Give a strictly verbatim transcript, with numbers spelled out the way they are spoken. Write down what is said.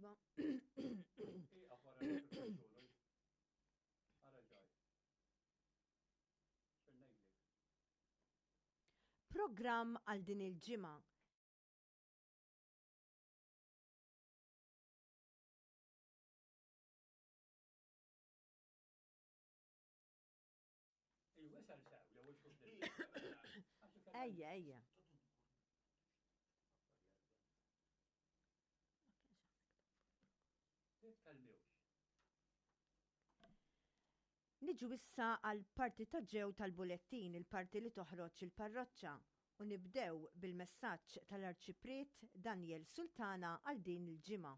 Iva. Ieqaf wara l-kontroll. Ara ġaj. X'ser ngħidlek? Programm għal din il-ġimgħa. Il-wesel sew jew il-xubli. Ejja, ejja. Titkellmux. Niġu issa għal parti ta' ġew tal-bulettin, il-parti li toħroġ il-parroċċa, u nibdew bil-messaġġ tal-Arċipriet Daniel Sultana għal din il-ġimgħa.